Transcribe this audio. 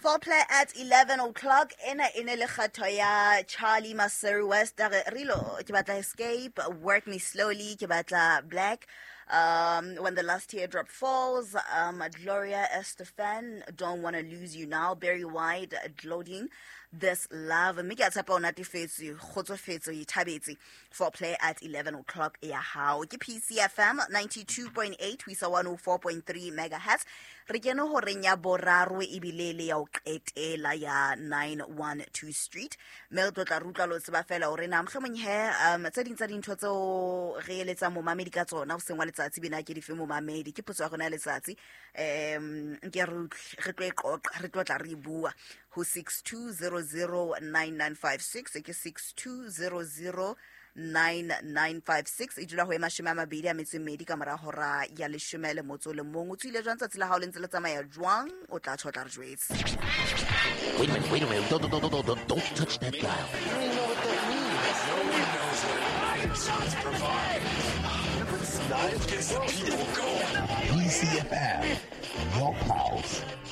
Foreplay at 11 o'clock. Ena e ne le kgatho ya Charlie Maseru West. A re Rilo, ke batla Escape, Work Me Slowly, ke batla Black. When the Last Teardrop Falls, Gloria Estefan, Don't Wanna Lose You Now, Barry White, Gloading, This Love. Mme ke a tshepa o natefetswe, kgotsofetse, o ithabetse. Foreplay at 11 o'clock ya hao. Ke PCFM 92.8 ho isa 104.3 megahertz. Re kene horeng ya boraro ebile le ya ho qetela ya 912 Street. Mme re tlo tla re utlwa lo tseba fela hore na mohlomong he tse ding tsa dintho tseo re eletsang momamedi ka tsona hoseng wa letsatsi bena ke dife momamedi. Ke potso ya rona ya letsatsi. Nke re utlwe, re tlo e qoqa, re tlo tla re e bua ho 62009956, ke 62009956. E dula ho e 24 ka mora hora ya 11. O tswile jwang tsatsi la hao le ntse le tsamaya jwang? O tla tjho, o tla re jwetse. Wait a minute, wait a minute. Don't, don't, don't, don't, don't, don't touch that dial. PCFM, your pulse.